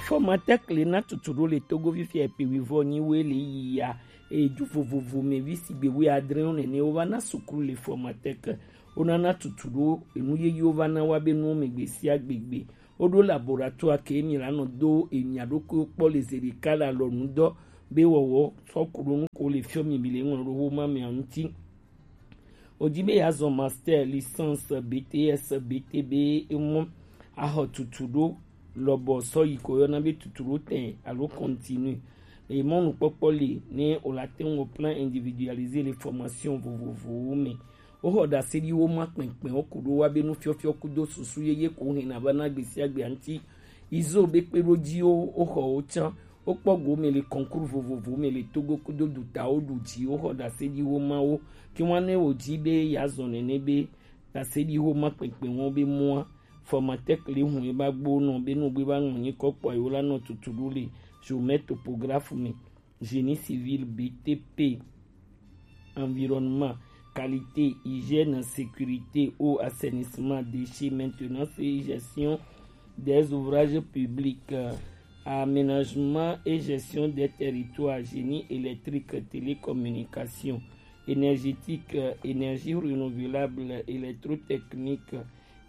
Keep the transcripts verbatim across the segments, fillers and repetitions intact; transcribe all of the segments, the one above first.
Formatec le na tutu ɖo le Togo fifia ekpe wivɔ nyi we le yi ya eju vovovo me vi sigbe wi adre wo nene wo va na sukulu le Formatec. Wo na na tutu ɖo enu yeye wo va na wa be nuwo me gbe sia gbegbe. Wo ɖo laboratoire ke mi la nɔ do emia ɖokui kpɔ le zeɖeka le alɔnu dɔ be wɔwɔ sɔ ku ɖo nu ko le fiɔ mi mi le ŋlɔ ɖo wo ma mia ŋuti. Wòdi be yeazɔ master, licence, B T S, B T B, emɔ axɔ tutu ɖo lɔbɔ sɔ yi ko yɔna be tutu ɖo tɛ alo continue. Emɔ nukpɔkpɔ li ne wòla te ŋu plan individualisé le formation vovovowo me. Woxɔ ɖaseɖiwo ma kpɛnkpɛn ko ɖo wa be nufiɔfiɔ kudo susu yeye ko hɛn na va na gbesiagbe anti. Izo be kpe ɖo ji wo, woxɔ wo can. Wokpɔ go me le concours vovovo me le Togo kudo dutawo ɖu dzi woxɔ ɖaseɖiwo mawo. Ke ŋua ne wòdzi be yeazɔ nene be ɖaseɖiwo ma kpɛnkpɛn wɔn be mɔa, Formatec le hun ye ba gbo nɔ be nugbe ba ŋlɔ nyi kɔ kpɔ yewo la nɔ tutu ɖo le géomètre topographe me, génie civil, B T P, environnement, qualité, hygiène, sécurité, eau, assainissement, déchets, maintenance et gestion des ouvrages publics, euh, aménagement et gestion des territoires, génie électrique, télécommunication, énergétique, euh, énergie renouvelable, électrotechnique,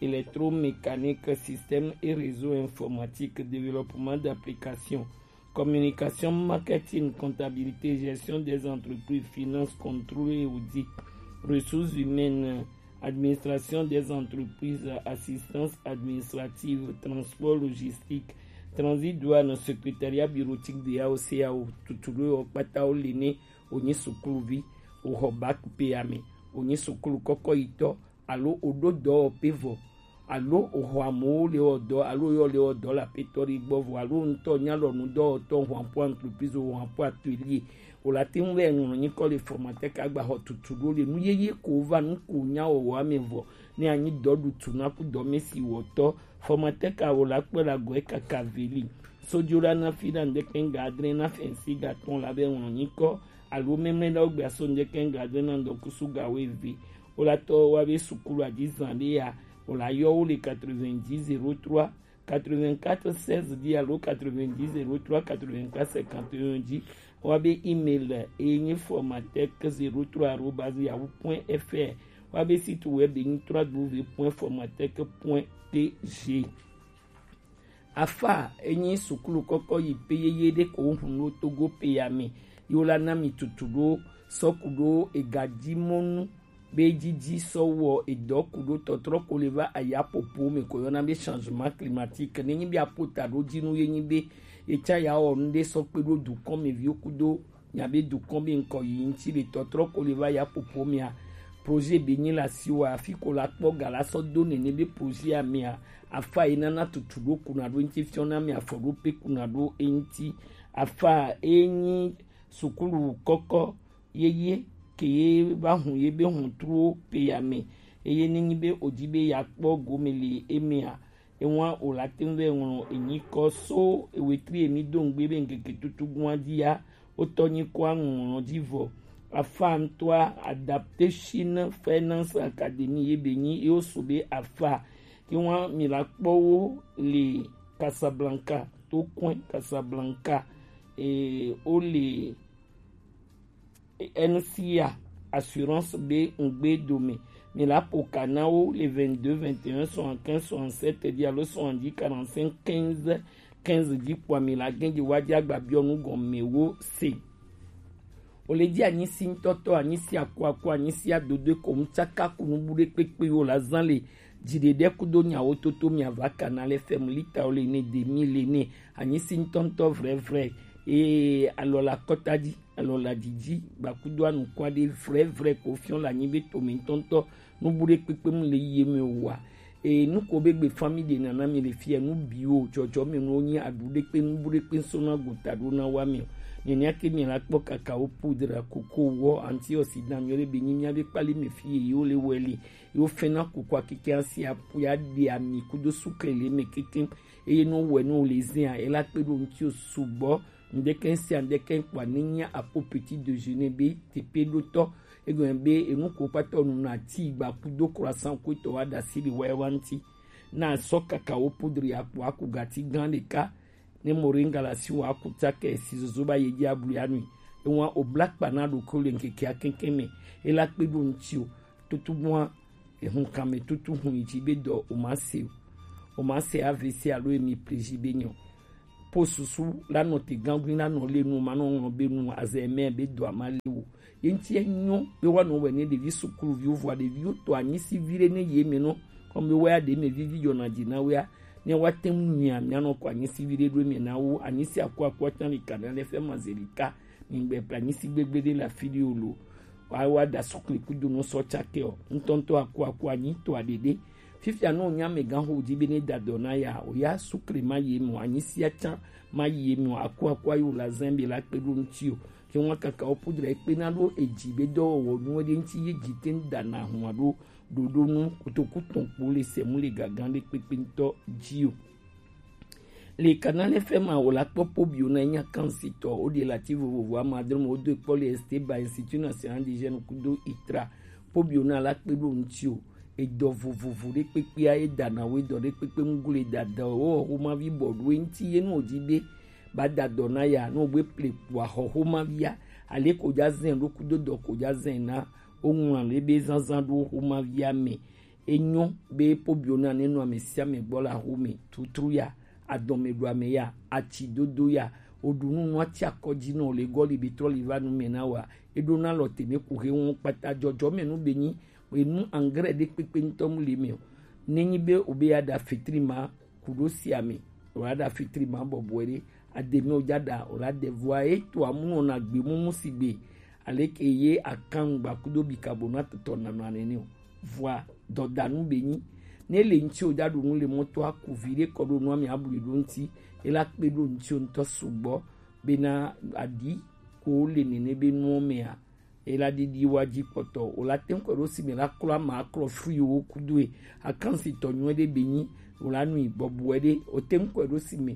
électromécanique, système et réseau informatique, développement d'applications, communication, marketing, comptabilité, gestion des entreprises, finance, contrôle et audit, ressources humaines, administration des entreprises, assistance administrative, transport logistique, transit douane, secrétariat bureautique de A O C A O, tutu ɖo yɔ kpata wo le ne wònyi sukuluvi, wòxɔ bac pe ame, wònyi sukulu kɔkɔ yitɔ, alo wòɖo dɔwɔƒe vɔ, alo wòxɔ amewo le wɔ dɔ, alo yɔ le wɔ dɔ le aƒetɔ ɖe gbɔ vɔ, alo ŋutɔ nya lɔ nudɔwɔtɔ, wòxɔ aƒe entreprise, wòxɔ aƒe atelier, wòla te ŋu vɛ ŋlɔ nyikɔ le Formatec agba xɔ tutu ɖo le nu yeye ko va nu ko nya wɔwɔ ame vɔ, ne anyi dɔ ɖu tu na ku dɔ me si wɔtɔ, Formatec a wòla kpe la gɔe kaka veli. Sojo la na fi na ŋdɛkɛ ŋga adre na fɛnsi ga tɔn la vɛ ŋlɔ nyikɔ, alo mɛmlɛ na wo gbe aso ŋdɛkɛ ŋga adre na ŋdɔkusu ga wo eve. Wo la tɔ wa be sukulu adi zan ɖe ya, wo la yɔ wo le quatre-vingt-dix zéro trois quatre-vingt-quatre seize dix alo quatre-vingt-dix zéro trois quatre-vingt-quatre cinquante et un dzi. Wa be email e nyi formatec zéro trois arobase yahoo point F R. Wa be site web e nyi trois W point formatec point T G. Afa enyi sukulu kɔkɔ yi pe yeye ɖe ko hun ɖo Togo pe ya me. Yo la na mi tutu ɖo sɔku ɖo ega ji mɔnu be jiji sɔ wɔ edɔ ku ɖo tɔtrɔ ko le va aya popo me ko yɔna be changement climatique. Ne nyi be apota ɖo ji nu ye nyi be etsa ya wɔ nu ɖe sɔ kpe ɖo dukɔn me viwo kudo nya be dukɔn be ŋkɔ yi ŋuti le tɔtrɔ ko le va ya popo mea. Projet be nyi la si wa afi ko la kpɔ ga la sɔ do nene be projet a mea. Afa yi nana tutu ɖo kuna ɖo ŋuti fiɔ na me afɔ ɖo pe kuna ɖo eŋuti. Afa enyi sukulu kɔkɔ yeye ke ye va hun ye be hun truwo pe ya me. Eye ne nyi be o ji be ya kpɔ gome le emea, ewa o la te ŋu vɛ ŋlɔ enyi kɔ so ewetri emi do ŋgbe be ŋkeke tutu gua di ya, o tɔ nyi kɔ aŋlɔ di vɔ. Afa ŋtɔa Adaptation Finance Academy ye be nyi ye o so be afa. Ke wa mi la kpɔ wo le Casablanca, to kɔn Casablanca, e, o le N C A assurance be ŋgbe dome. Mi la po ka na wo le vingt-deux vingt et un soixante-quinze soixante-sept di alo soixante-dix quarante-cinq quinze quinze di kpɔ mi la gɛn di wa di agba biɔ nu gɔme wo se. O le di anyi si ŋtɔtɔ, anyi si akuaku, anyi si adodo ko ŋtsaka ku nu bu ɖe kpekpe wo la zan le dziɖeɖe kudo nyawo toto mi ava kana le fɛmu lita wo le ne demi le ne anyi si ŋtɔŋtɔ vrɛvrɛ. Ee, alɔ la kɔta di. Alɔ la didi gbakudo anukua ɖe vrɛvrɛ ko fiɔ la nyi be to mi ŋtɔŋtɔ nu bu ɖe kpekpe mu le yi eme wa. Ee, nu ko be gbe fami ɖe nana mi le fia nu biwo jɔjɔ me nu nyi aɖu ɖe kpe nu bu ɖe kpe sona gota ɖo na wa mi. Nenia ke mi la kpɔ kakao poudre, koko wɔ, antioxydant nyɔ ɖe be nyi mia be kpali me fi ye wo le wɛ le. Yo fɛna koko akeke asi apu ya ɖe ami kudo sukle le me keke. Eye no wɛ no le zin a ela kpe ɖo ŋuti o sugbɔ. Ŋdɛkɛ sia ŋdɛkɛ kpɔa ne nya apo petit déjeuner be tepe ɖo tɔ. Egɔme be enu ko kpatɔ nu na ti gba kudo croissant ko tɔ wa da si le wɛ wa ŋuti. Na sɔ kakao poudre ya kpɔ aku gati gan ɖeka. Ne moringa la si wa kuta ke si zozo ba ye ji ablu ya nui. E wa o bla kpa na ɖokui le ŋkeke akɛnkɛn mɛ. E la kpe ɖo ŋti o. Tutu bua, ehun kan mɛ tutu hun yi ji be dɔ o ma se o. O ma se A V C alo emi pleji be nyɔ. Po susu la nɔ te gangui la nɔ le nu ma nɔ ŋlɔ be nu azɛ mɛ be dɔ a ma le o. Ye ŋti enyɔ be wa nɔ wɛ ne ɖevi sukuluviwo vɔa ɖeviwo to anyisi vi ɖe ne ye mɛ nɔ. Kɔmi be wa ya ɖe mɛ vivi yɔna dzi na wea. Ne wa te ŋu nyuia mia nɔ kɔ anyisi vi ɖe ɖo mɛ na wo. Anyisi aku aku atan li kana ne fɛ ma ze li ka. Mi gbe pra anyisi gbegbe ɖe la fi ɖi o lo. Wa wa da sukli kudo nɔ sɔ tsake o. Ŋtɔŋtɔ aku aku anyi to aɖeɖe. Fifia nɔ nya mɛ gan ho di be ne da dɔ na ya o ya sukli ma ye mɔ anyisi atsan ma ye mɔ aku aku ayo la zɛn be la kpe ɖo ŋti o. Ke ŋua kaka wo pudre kpe na ɖo edzi be dɔwɔwɔ nuwo ɖe ŋti ye dzi te ŋu da na hua ɖo ɖoɖo nu kotoku tɔn kpo le sɛmu le gagan ɖe kpekpe ŋutɔ dzi o. Le Canal F M a wò la kpɔ pobio na nya kansitɔ o de la ti vovovo ama adre mo do kpɔ le Esteba Institut National des Jeunes kudo itra pobio na la kpe ɖo ŋti o. Edɔ vovovo ɖe kpekpea e da na wo edɔ ɖe kpekpe ŋu le da dɔ wo xoma vi bɔ ɖo ŋti ye nu o di be ba da dɔ na ya no gbe ple kua xɔ xoma via ale ko ja zɛn ɖo kudo dɔ ko ja zɛn na o ŋlɔ le be zanzan ɖo xoma via mɛ. Enyo be pobio na ne nɔ ame sia ame gbɔ la xome tutru ya adɔme ɖo ame ya atsi dodo ya o ɖu nu nu atsi akɔ dzi nɔ le gɔ li bi trɔ li va nu mɛ na wa e ɖo na lɔ teme ku he ŋu kpata jɔjɔ mɛ nu be nyi enu angre ɖe kpekpe ŋutɔ mu le mɛ o. Ne nyi be o be ya ɖa fetri ma ku ɖo sia me o la ɖa fitri ma bɔbɔe ɖe ademe o ja ɖa o la de vɔa e to amu nɔ na gbe mumu si gbe ale ke ye akan gba kudo bi kabo na tɔtɔ na nɔ anene o vɔa dɔdanu be nyi ne le ŋti o ja ɖo nu le mɔto aku vi ɖe kɔ ɖo nu ame abu ɖo ŋti e la kpe ɖo ŋti o ŋutɔ sugbɔ bena aɖi ko le nene be nuwo mea. Ela ɖiɖi wa dzi kpɔtɔ o la teŋ kɔ ɖo si me la klɔ ama klɔ fui wo kudoe akansi tɔ nyuɛ ɖe be nyi o la nui bɔbɔe ɖe o teŋ kɔ ɖo si me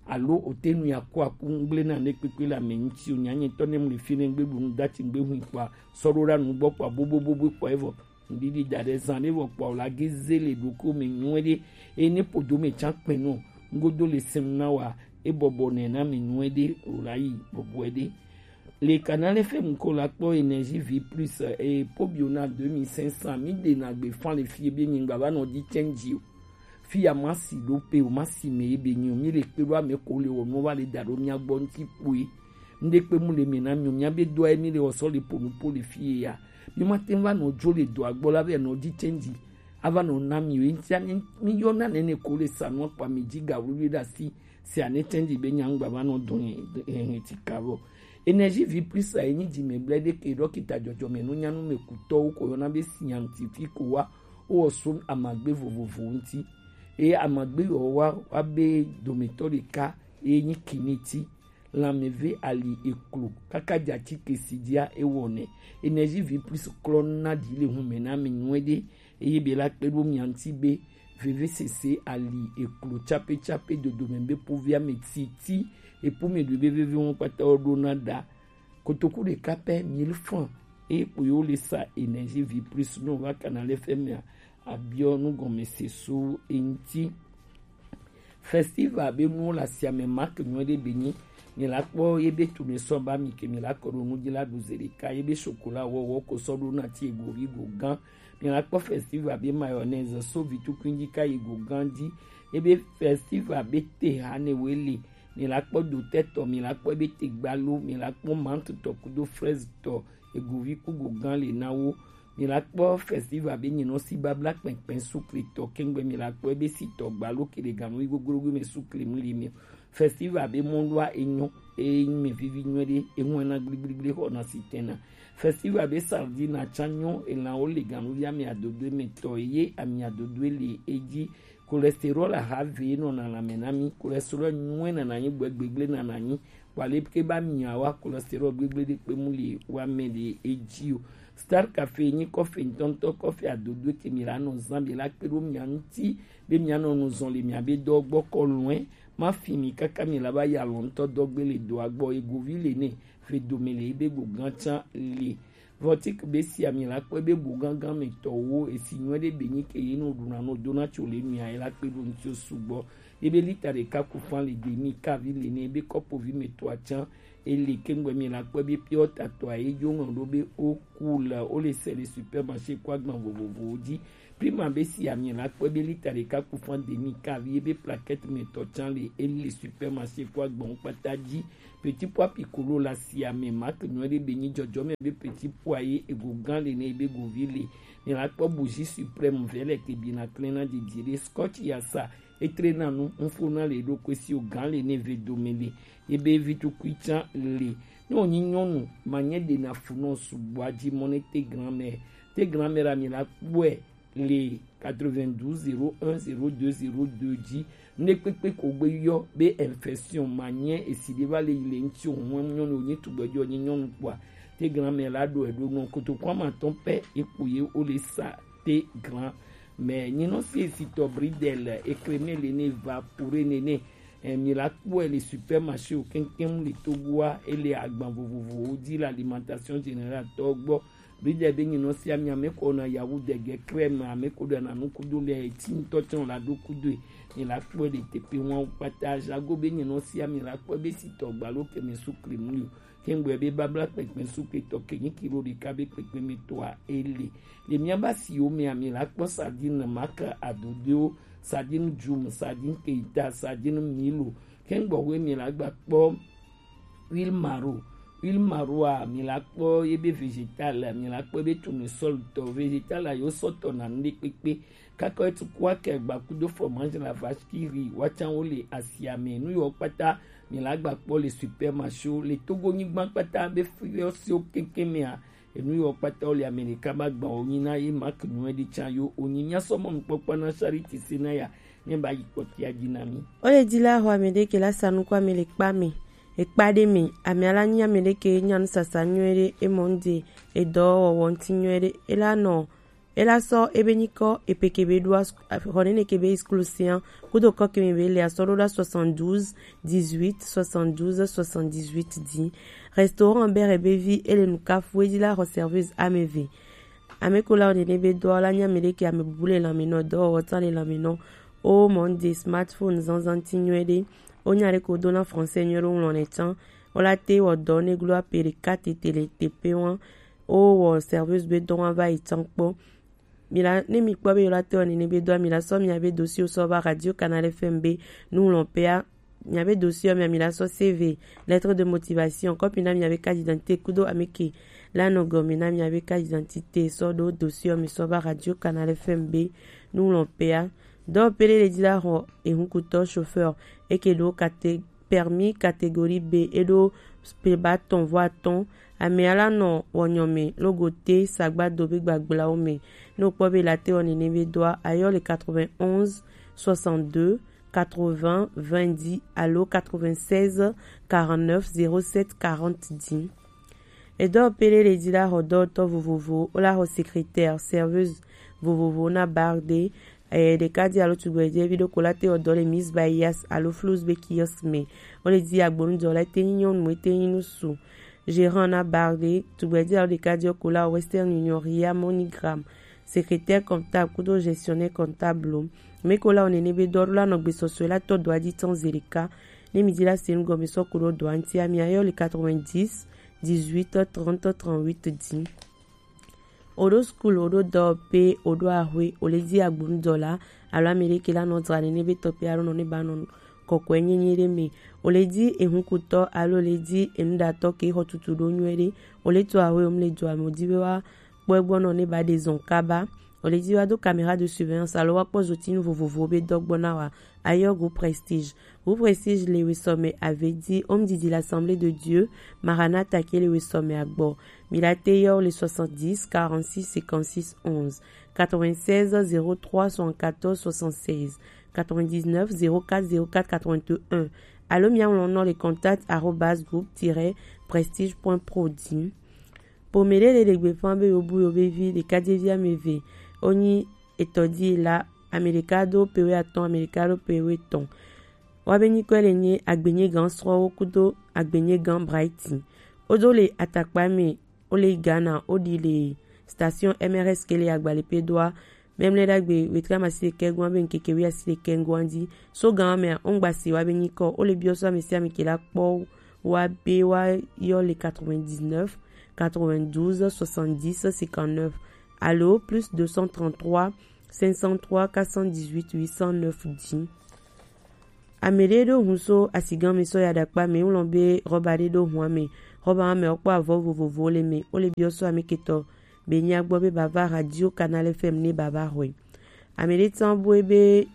alo o te nui aku aku ŋgble na ne kpekpe la me ŋti o nya nyetɔ ne mu le fi ne ŋgbe ɖu nu dati ŋgbe hui kpa sɔ ɖo ɖa nu gbɔ kpa bobobobo kpa evɔ ŋɖiɖi da ɖe zan ɖe vɔ kpa o la ge ze le ɖoko me nyuɛ ɖe eye ne podo me tsa kpɛ nɔ ŋgodo le sem na wa e bɔbɔ nɛ na me nyuɛ ɖe o la yi bɔbɔe ɖe. Le Canal F M ko la kpɔ Énergie Vie Plus e pobio na deux mille cinq cents mi de na gbe fan le fie be nyingba va nɔ di change o. Fi ya ma si ɖo pe o ma si me ye be nyi o mi le kpe ɖo ame ko le wɔ nu va le da ɖo mia gbɔ ŋti kpoe. Ŋɖe kpe mu le me na mi o mia be doa ye mi le wɔ sɔ le po nu po le fie ya. Mi ma te va nɔ dzo le doa gbɔ la be nɔ di change. Ava nɔ na mi o ŋti mi yɔ na nene ko le sa nɔ kpa mi dzi ga wluwlu ɖe asi. Si ane tɛnji be nyangba va nɔ dɔn hɛn ti ka vɔ. Énergie Vie Plus a enyi dzi me blɛ ɖe ke ɖɔkita dzɔdzɔme nu nyanu me kutɔwo ko yɔna be scientifique wa wo so amagbe vovovo ŋti. Eye amagbe yɔ wa wa be dometɔ ɖeka eye nyi kiniti. Lanmeve ali eklo kaka dza tsi ke si dzia ewɔ nɛ. Énergie Vie Plus klɔ na ɖi le hun me na mi nyuɛ ɖe. Eye be la kpe ɖo mia ŋti be vevesese ali eklo tsape tsape dodome be povia me titi epo me ɖu be veve ŋu kpata wo ɖo na ɖa kotoku ɖeka pɛ mille francs eye kpo yewo le sa Énergie Vie Plus no va Canal F M a abiɔ nu gɔme se so eŋti. Festival be nuwo le asia me make nyuie ɖe be nyi mi la kpɔ ye be tunu sɔ ba mi ke mi la kɔ ɖo nu dzi la ɖu ze ɖeka ye be chocolat wɔwɔ ko sɔ ɖo na ti ego vi go gã. Mi la kpɔ festival be mayonnaise so vi tukui dzi ka yi go gã dzi. Ye be festival be te ha ne we le. Mi la kpɔ dotɛ tɔ, mi la kpɔ be te gbalo, mi la kpɔ menthe tɔ kudo fraise tɔ, ego vi ku go gã le na wo. Mi la kpɔ festival be nyinɔ si babla kpɛnkpɛn sukli tɔ kɛngbe mi la kpɔ be si tɔ gbalo ke ɖe ganu yi goglogo me sukli mu li mi. Festival be mɔlua enyɔ eye mi vivi nyuie ɖe eŋu ena gbligbligbli xɔ na si tɛna. Festival be sardine atsa nyɔ elan wo le ganu ya mi adodo me tɔ ye ami adodo le edzi. Cholestérol aha ve nɔna lãme na mi. Cholestérol nyuie nana nyi gbegble nana nyi. Kpale ke ba mi wa cholestérol gbegble ɖe kpe mu li wa me ɖe edzi o. Star Café nyi kɔfe ŋtɔŋtɔ kɔfe adodo ke mi la nɔ zan be la kpe ɖo mia ŋti be mia nɔ nu zɔn le mia be dɔ gbɔ kɔ lɔe. Ma fi mi kaka mi la ba ya lɔ ŋtɔ dɔ gbe le doa gbɔ egovi le ne fe dome le ebe go gã tsa le. Vɔtik be sia mi la kpɔe be bo gãgã me tɔwo esi nyuie ɖe be nyi ke ye no ɖuna no dona tso le nua ye la kpe ɖo ŋti sugbɔ. ebe lita ɖeka ku fan le demi kavi le ne ebe kɔpovi me to atsan ele kengbe mi la kpɔ ebe piɔ tatɔ a ejo ŋlɔ ɖo be o ku le o le se le supermarché kɔ agban vovovowo dzi. Prima be si ami la kpɔ ebe lita ɖeka ku fan demi kavi ebe plaquette me tɔ tsan le ele supermarché kɔ agbanwo kpata dzi. Petit pois piccolo la si ame mak nyuie ɖe be nyi dzɔdzɔme be petit pois ye ego gã le ne ebe govi le. Mi la kpɔ bougie suprême vɛ le ke bi na klena didi ɖe scotch ya sa etre na nu nfo na le ɖo kwe si o gã le ne ve dome le ebe vi tukui tsan le. Ne o nyi nyɔnu ma nye ɖe na fu nɔ sugbɔ adzi mɔ ne te grand-mère te grand-mère ami la kpɔe le quatre-vingt-douze zéro un zéro deux zéro deux dzi. Ne kpekpe ko gbe yɔ be infection ma nye esi ɖe va le yi le ŋuti o hɔn nyɔnu o nyi tugbɛ jɔ nyi nyɔnu kpɔa te grand-mère la ɖo eɖo nɔ kotoku ama tɔn pɛ ekpo ye o le sa te grand-mère nyinɔ si esi tɔ bridel ekreme le ne va pure nene. Eh, mi la kpɔe le supermarché o keŋkeŋ le Togoa ele agban vovovowo dzi le alimentation générale tɔ gbɔ. Bridel be nyinɔ si ami ame ko na yawu dege crème ame ko ɖe na nu kudo le eti ŋutɔ tsɔ la ɖo kudo e. Mi la kpɔe le tepe ŋua kpata jago be nyinɔ si ami la kpɔe be si tɔ gbalo ke mi su kremu yo. Kengbe be babla kpekpe su ke tɔ ke nyi kilo ɖeka be kpekpe mi tɔa ele. Le mia ba si o mi ami la kpɔ sardine maka adodewo, sardine jum, sardine keita, sardine milo. Kengbe we mi la gba kpɔ huile maro. Huile maro a mi la kpɔ ye be végétal, mi la kpɔ be tournesol tɔ végétal a yo sɔtɔ na nu ɖe kpekpe. Kaka etu kua ke gba kudo fromage la vache qui rit wa tsan wo le asia me nu yo kpata mi la gba kpɔ le supermarché wo le Togo nyigba kpata be fiɔ si wo keŋkeŋ mea. Enu yo kpata wo le Amerika ba gba wo nyi na ye mak nyuie ɖe tsan yo o nyi mia sɔ mɔ nukpɔkpɔ na Charity Senaya ne ba yi kpɔtia dzi na mi. O le di la ho ame ɖe ke la sa nuku ame le kpa me. Ekpa ɖe me, ame ala nyi ame ɖe ke nya nusasa nyuie ɖe, emɔ ŋde, edɔ wɔwɔ ŋti nyuie ɖe, ela nɔ, ela sɔ ebe nyikɔ epe ke be ɖo as-, xɔ nene ke be exclusion, kudo kɔ ke me be le asɔ ɖo ɖa soixante-douze dix-huit soixante-douze soixante-dix-huit di. Restaurant Bere be vi ele nukafu edi la xɔ serveuse ame ve. Ame ko la o nene be dɔ la nyi ame ɖe ke ame bubu le lanme nɔ, dɔwɔwɔ tsan le lanme nɔ. O mɔ ŋde smartphone zanzan ŋti nyuie ɖe. O nya ɖe ko do na français nyuie ɖe o ŋlɔ nɛ tsan. O la te wɔ dɔ ne glo ape ɖeka tete le tepe wa. O wɔ serveuse be dɔ wa va yi tsan kpɔ. Mi la, ne mi kpɔ be yo la te wɔ nene be dɔ mi la sɔ mi a be dossier sɔ va Radio Canal F M be nu ŋlɔ pea. Mi a be dossier mi a mi la sɔ C V, lettre de motivation, kɔpi na mi a be carte d'identité kudo ame ke la nɔ gɔme na mi a be carte d'identité sɔ ɖo dossier mi sɔ va Radio Canal F M be nu ŋlɔ pea. Dɔ pele le di la xɔ ehunkutɔ chauffeur eke ɖo kate permis catégorie B eɖo peba tɔn vɔ atɔn. Ame ala nɔ wɔnyɔ me logo te sagbado be gbagblao me. Ne o kpɔ be la te wɔ nene be dɔa ayɔ le quatre-vingt-onze soixante-deux quatre-vingts vingt dix alo quatre-vingt-seize quarante-neuf zéro sept quarante dix. Edɔ pele le di la xɔ dɔwɔtɔ vovovo, o la xɔ secrétaire, serveuse vovovo na bar de. Eye ɖeka di alo tugbɛ di evi ɖo ko la te wɔ dɔ le Miss Bayas alo Flows be kiosk me. O le di agbonu dɔ la te nyi nyɔnu, e te nyi nusu. Gérant na bar de, tugbɛ di alo ɖeka di ko la Western Union, Ria, MoneyGram. Secrétaire comptable kudo gestionnaire comptable lo. Me ko la o nene be dɔ la nɔ gbesɔsɔ la tɔ dɔ adi tɔn ze ɖeka. Ne mi di la se nu gɔme sɔ ko ɖo dɔ anti ami ayɔ le quatre-vingt-dix dix-huit trente trente-huit di. O ɖo school, o ɖo dɔwɔƒe, o ɖo axwe, o le di agbonu dɔ la, alo ame ɖe ke la nɔ dzra nene be tɔƒe alo nɔ ne ba nɔ kɔkɔe nyenye ɖe me. O le di ehunkutɔ alo o le di enuɖatɔ ke xɔ tutu ɖo nyuie ɖe. O le to axwe, o mu le dua me, o di be wa kpɔ egbɔ nɔ ne ba ɖe zɔn kaba. O le di wa do caméra de surveillance alo wa kpɔ zotinu vovovo be dɔ gbɔ na wa. Ayɔ Groupe Prestige. Groupe Prestige le wesɔme ave di Home didi l'Assemblée de Dieu, Maranatha ke le wesɔme agbɔ. Mi la te yɔ le soixante-dix quarante-six cinquante-six onze, quatre-vingt-seize zéro trois soixante-quatorze soixante-seize, quatre-vingt-dix-neuf zéro quatre zéro quatre quatre-vingt-un. Alo mi aŋlɔ nɔ le contact arobase groupe tiret prestige point pro di. Ƒome ɖe le ɖe gbeƒã be yewobu yewo be vi ɖekadzevi ame eve wonyi etɔdila, ame ɖeka do pe wuiatɔ̃, ame ɖeka do pe wuietɔ̃. Woabe nyikɔe le nye Agbenyegã srɔ̃wo kudo Agbenyegã Brighton. Wodo le atakpa me, wo le Ghana, woɖi le station M R S ke le Agbalẽƒedoa. Mɛmlɛ ɖagbe wetri amasi ɖekɛ goa be ŋkeke wi asi ɖekɛ ŋgoa dzi. So gan mɛ ongba si wa be nyikɔ o le biɔ so ame si ame ke la kpɔ wa be wa yɔ le quatre-vingt-dix-neuf quatre-vingt-douze soixante-dix cinquante-neuf alo plus deux cent trente-trois cinq cent trois quatre cent dix-huit huit cent neuf dix. Ame ɖe ɖo hun so asigan mi sɔ ya ɖakpa mi ŋlɔ be rɔba ɖe ɖo hun ame. Rɔba ame ɔkpɔ avɔ vovovo le mi o le biɔ so ame ketɔ be nya gbɔ be bava Radio Canal F M ne baba hɔe. Ame ɖe tsan boe be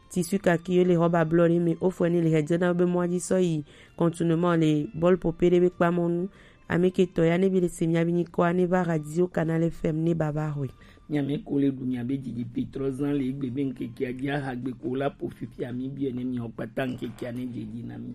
tissu kaki le rɔba blɔ ɖe mi o fɔe ne le hedzena be mɔa dzi sɔ yi contournement le bɔl pope ɖe be kpamɔnu. Ame ketɔ ya ne bi le se mia bi nyikɔa ne va Radio Canal F M ne baba hɔe. Miame ko le ɖu miabe dzidzi petrɔ zã le egbe be ŋkekea dzi ahagbe ko la po fifia mi biɔ ne miɔ kpata ŋkekea ne dzedzi na mi.